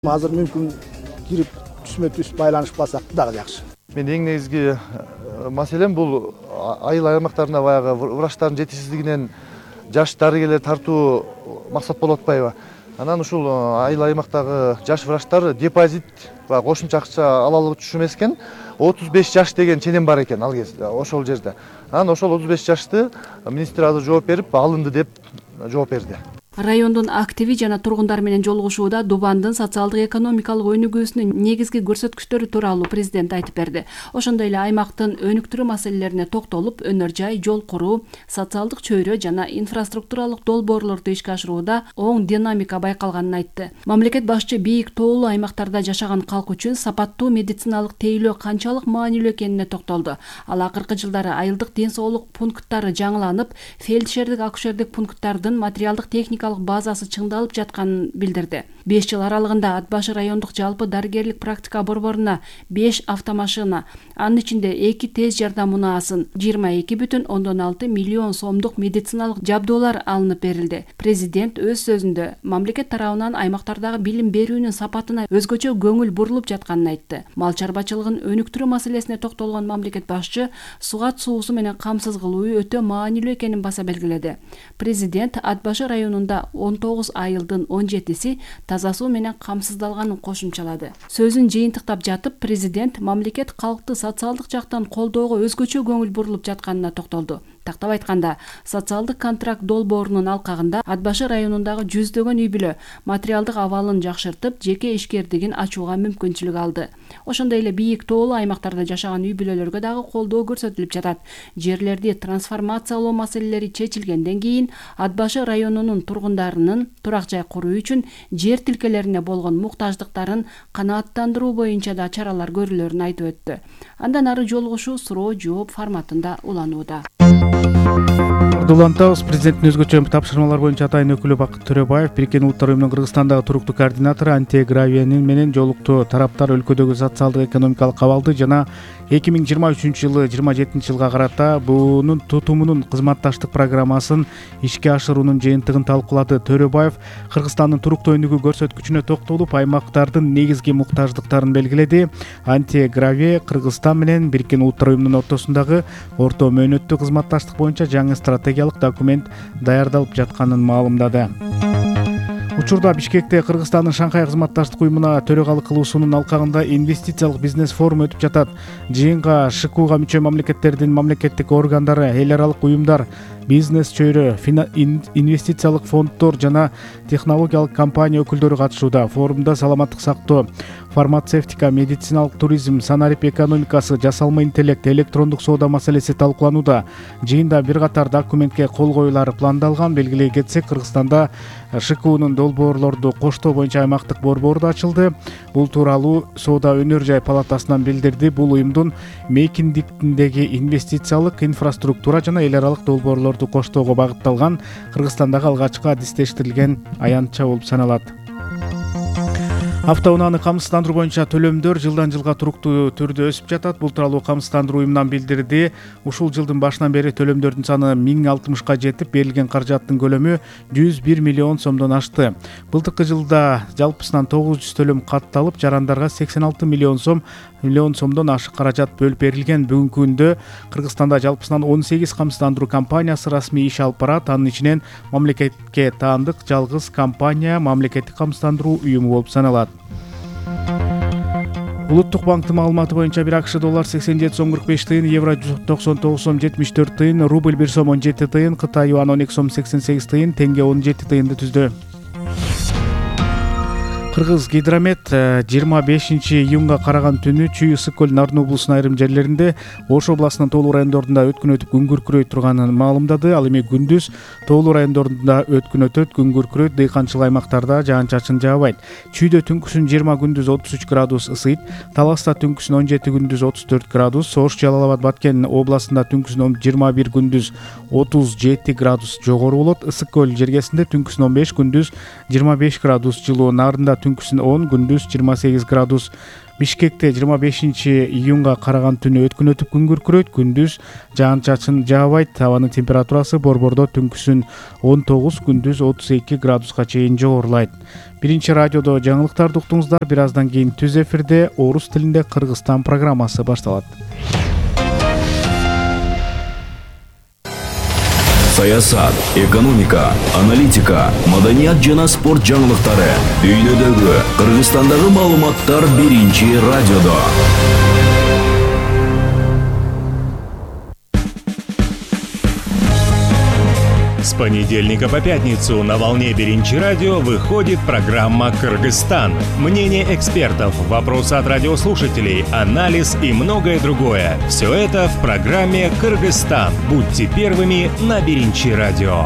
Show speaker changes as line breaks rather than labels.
Азыр мүмкүн кирип түсмө түз байланышпасак дагы жакшы.
Мен эң негизги маселем бул айыл аймактарына баягы врачтардын жетишсиздигинен жаш дарыгерлер тартуу максат болуп атпайбы? Анан ушул айыл аймактагы жаш врачтар депозит баягы кошумча акча ала алып түшүмөс экен. 35 жаш деген ченем бар экен ал кезде ошол жерде. Анан ошол 35 жашты министр азыр жооп берип алынды деп жооп берди.
Райондун активи жана тургундар менен жолугушууда Дубандын социалдык экономикалык өнүгүүсүнүн негизги көрсөткүчтөрү тууралуу президент айтып берди. Ошондой эле аймактын өнүктүрүү маселелерине токтолуп, өнөр жай, жол куруу, социалдык чөйрө жана инфраструктуралык долбоорлорду ишке ашырууда оң динамика байкалганын айтты. Мамлекет башчы бийик тоолуу аймактарда жашаган калк үчүн сапаттуу медициналык тейлөө канчалык маанилүү экенине токтолду. Ал акыркы жылдары айылдык ден соолук пункттары жаңыланып, фельдшердик, акушердик пункттардын материалдык техникалык базасы чыңдалып жатканын билдирди. 5 жыл аралыгында Ат башы райондук жалпы дарыгерлик практика борборуна 5 автомашина, анын ичинде 2 тез жардам унаасын, 22,6 миллион сомдук медициналык жабдуулар алынып берилди. Президент өз сөзүндө мамлекет тарабынан аймактардагы билим берүүнүн сапатына өзгөчө көңүл бурулуп жатканын айтты. Мал чарбачылыгын өнүктүрүү маселесине токтолгон мамлекет башчы сугат суусу менен камсыз кылуу өтө маанилүү экенин баса белгиледи. Президент Ат башы районунда 19 айылдын 17си таза суу менен камсыздалганын кошумчалады. Сөзүн жыйынтыктап жатып, президент мамлекет калкты социалдык жактан колдоого өзгөчө көңүл бурулуп жатканына токтолду. Тактап айтканда, социалдык контракт долбоорунун алкагында Ат башы районундагы жүздөгөн үй-бүлө материалдык абалын жакшыртып, жеке ишкердигин ачууга мүмкүнчүлүк алды. Ошондой эле бийик тоолуу аймактарда жашаган үй-бүлөлөргө дагы колдоо көрсөтүлүп жатат. Жерлерди трансформациялоо маселелери чечилгенден кийин Ат башы районунун тургундарынын турак жай куруу үчүн жер тилкелерине болгон муктаждыктарын канааттандыруу боюнча да чаралар көрүлөрүн айтып өттү. Андан ары жолугушуу суроо жооп форматында уланууда.
Улантабыз. Президенттин өзгөчө тапшырмалар боюнча атайын өкүлү Бакыт Төрөбаев Бириккен Улуттар уюмунун Кыргызстандагы туруктуу координатору Антия Гравиянин менен жолукту. Тараптар өлкөдөгү социалдык экономикалык абалды жана 2023-жылы 27-жылга карата буунун тутумунун кызматташтык программасын ишке ашыруунун жыйынтыгын талкуулады. Төрөбаев Кыргызстандын туруктуу өнүгүү көрсөткүчүнө токтолуп, аймактардын негизги муктаждыктарын белгиледи. Антия Гравия Кыргызстан менен Бириккен Улуттар уюмунун ортосундагы орто мөөнөттүү кызматташтык боюнча жаңы стратегиялык документ даярдалып жатканын маалымдады. Учурда Бишкекте Кыргызстандын Шанхай кызматташтык уюмуна төрөгалык кылуусунун алкагында инвестициялык бизнес форуму өтүп жатат. Жыйынга ШКУга мүчө мамлекеттердин мамлекеттик органдары, эл аралык уюмдар, бизнес чөйрө, инвестициялык фонддор жана технологиялык компания өкүлдөрү катышууда. Форумда саламаттык сактоо, фармацевтика, медициналык туризм, санарип экономикасы, жасалма интеллект, электрондук соода маселеси талкууланууда. Жыйында бир катар документке кол коюлары пландалган. Белгилей кетсек, Кыргызстанда ШКУнун долбоорлорду коштоо боюнча аймактык борбору да ачылды. Бул тууралуу Соода өнөр жай палатасынан билдирди. Бул уюмдун мейкиндиктиндеги инвестициялык инфраструктура жана эл аралык долбоорлорду коштоого багытталган Кыргызстандагы алгачкы адистештирилген аянтча болуп саналат. Автоунааны камсыздандыруу боюнча төлөмдөр жылдан жылга туруктуу түрдө өсүп жатат. Бул тууралуу камсыздандыруу уюмунан билдирди. Ушул жылдын башынан бери төлөмдөрдүн саны 1060ка жетип, берилген каражаттын көлөмү 101 миллион сомдон ашты. Былтыркы жылда жалпысынан 900 төлөм катталып, жарандарга 86 миллион сомдон ашык каражат бөлүп берилген. Бүгүнкү күндө Кыргызстанда жалпысынан 18 камсыздандыруу компаниясы расмий иш алып барат. Анын ичинен мамлекетке таандык жалгыз компания мамлекеттик камсыздандыруу уюму болуп саналат. Улуттук банктын маалыматы боюнча бир АКШ доллар 87 сом 45 тыйын, евро 99 сом 74 тыйын, рубль 1 сом 17 тыйын, Кытай юан 12 сом 88 тыйын, тенге 17 тыйынды түздү. Кыргыз Гидромет 25-июнга караган түнү Чүй ысык көл Нарын облусунун айрым жерлеринде, Ош областынын тоолуу райондорунда өткүн өтүп күн күркүрөй турганын маалымдады. Ал эми күндүз тоолуу райондорунда өткүн өтөт, күн күркүрөйт, дыйканчылык аймактарда жаан-чачын жаабайт. Чүйдө түнкүсүн 20, күндүз 33 градус ысыйт. Таласта түнкүсүн 17, күндүз 34 градус. Ош, Жалал абад, Баткен областында түнкүсүн 21, күндүз 37 градус жогору болот. Ысык көл жергесинде түнкүсүн 15, күндүз 25 градус жылуу. Нарында түнкүсүн 10, күндүз 28 градус. Бишкекте 25-июнга караган түнү өткүнөтүп күн күркүрөйт, күндүз жаан-чачын жаабайт. Абанын температурасы борбордо түнкүсүн 19, күндүз 32 градуска чейин жогорулайт. Биринчи радиодо жаңылыктарды уктуңуздар. Бир аздан кийин түз эфирде орус тилинде Кыргызстан программасы башталат.
Саясат, экономика, аналитика, маданият жана спорт жаңылыктары. Дүйнөдөгү, Кыргызстандагы маалыматтар биринчи радиодо.
С понедельника по пятницу на волне Биринчи радио выходит программа «Кыргызстан». Мнение экспертов, вопросы от радиослушателей, анализ и многое другое. Все это в программе «Кыргызстан». Будьте первыми на Биринчи радио.